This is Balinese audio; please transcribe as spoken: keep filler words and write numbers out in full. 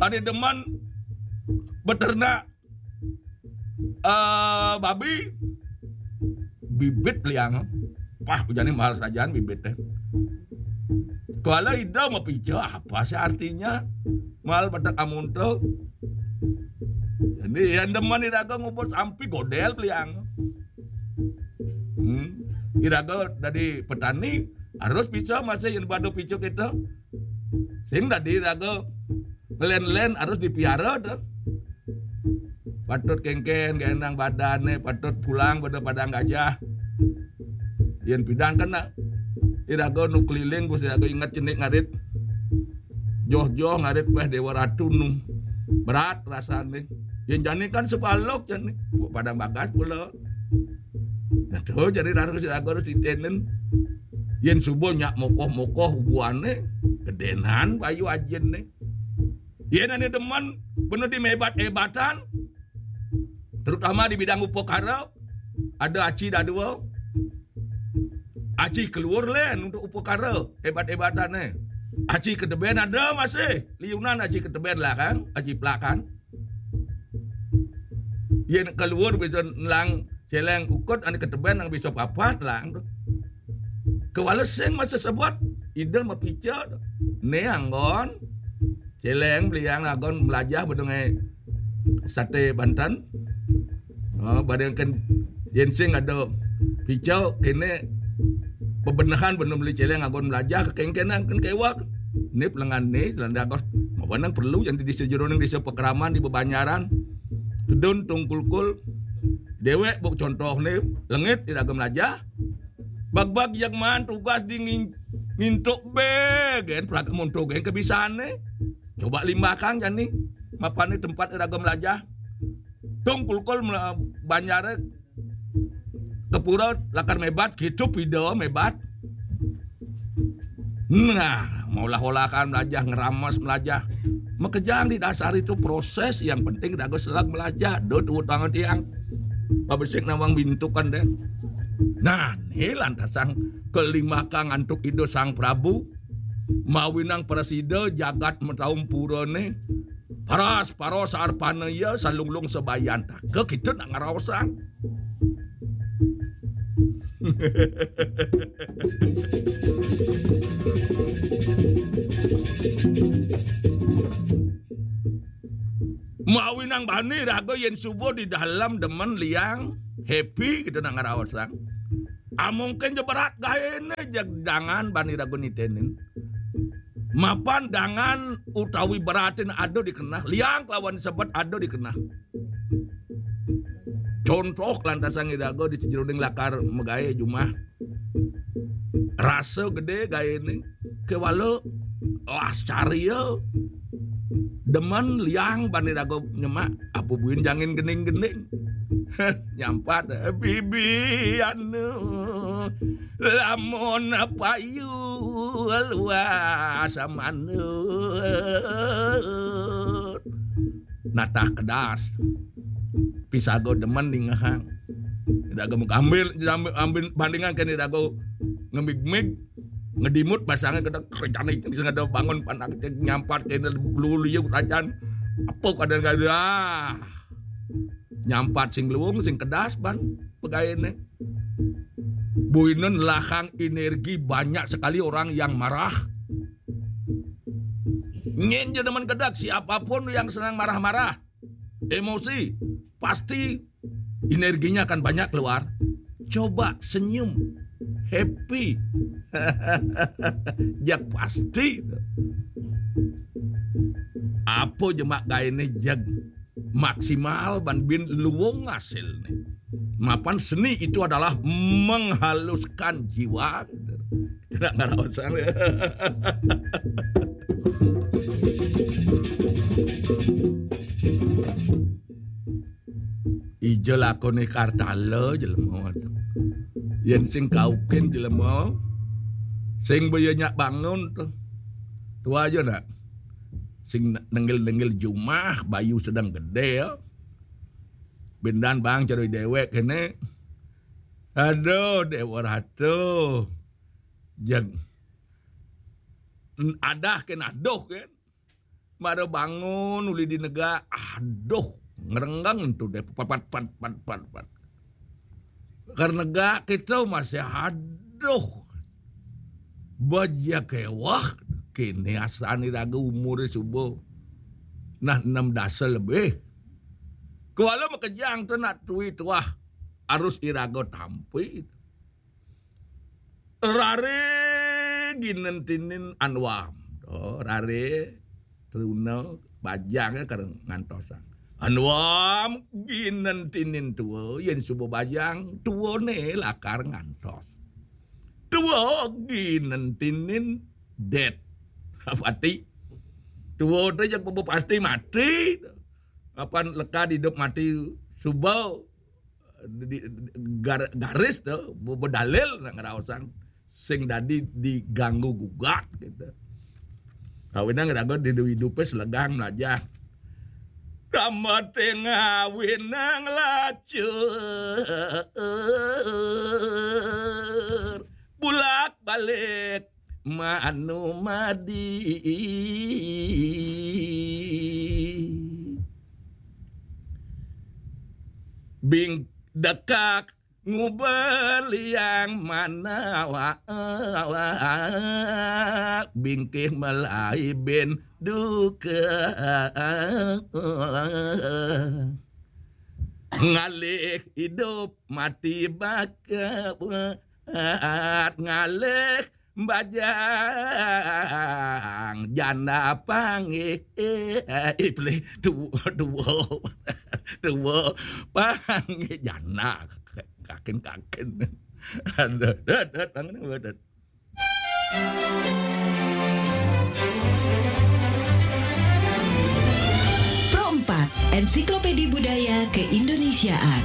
Ané demen beternak eh, babi, bibit liang. Wah, jani mahal sajaan bibit téh. Kalau ida mapica, apa sih artinya? Mahal pada amun to. Jadi yang demen iraga ngubur sampi godel liang. Hmm. Iraga dari petani harus bisa masih yang badu picu kita. Sing tadi iraga ngelen-len harus dipiara tuh. Patut kéngkén, genang badané, patut pulang pada padang gajah. Yén pidan kena. Iraga nu keliling, Gusti Raga inget cenik ngarit. Joh-joh ngarit péh Déwa Ratu nu. Berat rasané. Yén jani kan sebalok jani. Padang bagas pula. Nah, tuh, jadi harus iraga harus ditenen. Yén subuh nyak mokoh-mokoh buané, gedénan bayu ajinné. Yén ané demen, bener di mébat-ébatan, terutama di bidang upakara, ada aci dadua. Aci keluar lén untuk upakara, ébat-ébatané. Aci kedebén ada masih, liunan aci kedebén lah kan, aci pelakan. Yén keluar bisa nelang céléng ukut, ané ketebén nang bisa papat lang. Kewala sing masa sebut, ida mapica. Né anggon. Céléng beliang anggon melajah bedengé saté Banten. Oh, badengken yén sing ada pica kéné bebenehan bener beli céléng anggon melajah kekéngkénan kén kéwak. Nip lengan né, selanda agos. Mapanang perlu yang di desa jeroning desa Pekraman di bebanyaran. Tedun tungkulkul. Déwék buk contoh né, lengit iraga melajah. Bagbag yang man tugas di ngin-, ngintuk bé, gén praga monto gén kebisané. Coba limbakang jani, mapané tempat iraga melajah. Tungkulkul mela-, banjaré kepura lakar mébat, gitu pida mébat. Nah, maulah-olahan melajah, ngeramas melajah. Makejang didasari tu proses, yang penting dago selag melajah. Dot utang tiang. Pabesik nawang bintukan deh. Nah, ni lantasang kelimakang antuk Ida Sang Prabu. Mawinang prasida jagat mataum purane. Paras, paros, arpana iya, salunglung sabayan. Ka kita nak ngaraosang. Mawinang bani raga yen suba di dalam demen liang, happy kita nak ngaraosang. Amungkin je berat gaene, jeg dangan bani raga nitenin. Mapan dangan utawi beratin ada di kenah, liang kelawan sebet ada di kenah. Contoh lantasan iraga di jeroning lakar magae jumah. Rasa gede gaene, kewala las carya. Demen liang bani raga nyemak, apa buin jangin gening-gening. Nyampat, bibi anu, lamun payu luas manut. Natah kedas. Pisaga demen ningehang. Iraga ambil, ambil, ambil bandingan kan iraga ngemig-mig, ngedimut basangnya kena kerjane sing ada bangun panak nyampat kena lulu liu rajan. Apa keadaan kada? Ah. Nyampat sing luung, sing kedas ban pegaene. Buinen lahang energi banyak sekali orang yang marah. Nyen je demen kedak siapapun yang senang marah-marah, emosi, pasti energinya akan banyak keluar. Coba senyum, happy. Jak pasti. Apa jemak gaene jeg maksimal ban bin luwung hasilne. Mapan seni itu adalah menghaluskan jiwa. Kena ngaraosang. Ija lakone kartala jelema tu. Yen sing kaukin jelema, sing baya nyak bangun tu. Tua aja nak. Sing nenggil-nenggil jumah, bayu sedang gede ya. Bendan bang ceroi dewek kene. Aduh, Dewa Ratu. Jeng. Adah ken aduh ken. Mara bangun uli di negak, aduh, ngerenggang tu deh, pat, pat, pat, pat, pat, pat. Karena negak kita masih aduh. Baja kewah, kini asani raga umur suba. Nah, enam dasa lebih. Kuala makejang tu nak tui tuah, harus iraga tampi. Rare ginen tinin anwam. Oh, rare truna bajang kar ngantosang. Anwam ginen tinin tua, yen suba bajang tua ne lakar ngantos. Tua ginen tinin det. Pati. Tua tu jak pasti mati. Apan lekad hidup mati suba di, di, gar-, garis tu, be-, bedalil nak ngeraosang sing dadi diganggu gugat gitu. Kawinang raga di hidupe selegang melajah. Kamate ngawinang lacur. Bulak balik manu madi. Bing dekak ngubeliang manawa bingkih melai bin duka. Ngalih hidup mati bakat ngalih bajang janda panggih. Ipli dua, dua, dua panggih janda. Kakin, kakin. Aduh, dot, dot, bangun, dot. Pro empat, Ensiklopedi Budaya Keindonesiaan.